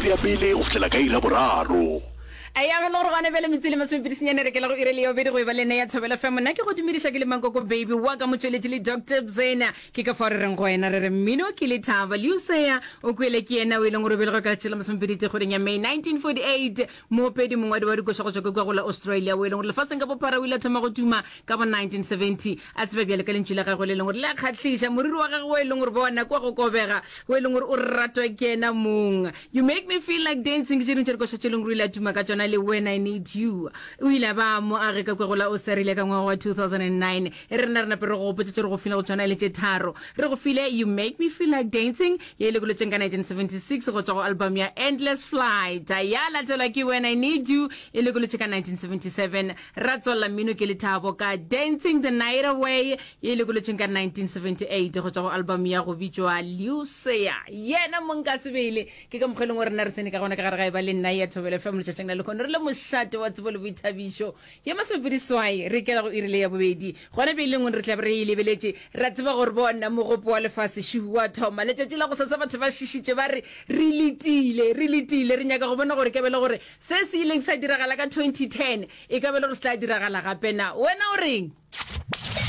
iri ya pele go fihlela ka iri ya boraro. Eya ge le gore gona bjale metsotso e le masomepedi senyane re kela go iri le ya bobedi go e ba le nna ya Thobela FM. Nna ke go dumediša ke le Mankoko Baby wa ka motšweletši le Doctor Bzena. Ke ka fao re reng go wena re re mmino ke lethaba. Liusea o kwele ke yena o e leng gore o belegwe ka letšatši la masomepedi tee kgweding ya May 1948. Moopedi mongwadi wa dikoša go tšwa ka kua go la Australia o e leng gore lefaseng ka bophara o ile a thoma go tuma ka bo 1970 a tseba bjale ka lentšu la gagwe le leng gore le a kgahliša, moriri wa gagwe o e leng gore bona kwa go kobega o e leng gore o ratwa ke yena mong. You make me feel like dancing ke tše dingwe tša dikoša tše e leng gore o ile a tuma ka tšona le When I Need You. O ile a ba mo age ka kua go la Australia ka ngwaga wa 2009. E re rena re nape re go gopotše tše re go file go tšona e le tše tharo. Re go file You Make Me Feel Like Dancing ye e lekolotšeng ka 1976 go tšwa go album ya Endless Flight. Ya latelwa ke When I Need You e lekolotše ka 1977. Ra tswalela mmino ke lethabo ka Dancing the Night Away ye e lekolotšeng ka 1978 go tšwa go album ya go bitšwa Lucia. Yena mong ka sebele ke ka mokgwa e leng gore rena re tsene ka gona ka gare ga e ba le nna ya Thobela FM letšatšing la lehono re le mošate wa tsebo le boithabišo ye masomepedi swai re ikela go iri le ya bobedi gona bjale lengwe re tla be re e lebeletše ra tseba gore bona mogopo wa lefase šu wa thoma letšatši la go sasa batho ba šišitše ba re re letile re letile re nyaka go bona gore ke be le gore Se se ileng sa diragala ka 2010 e ka be le gore se tla diragala gape na? Wena o reng?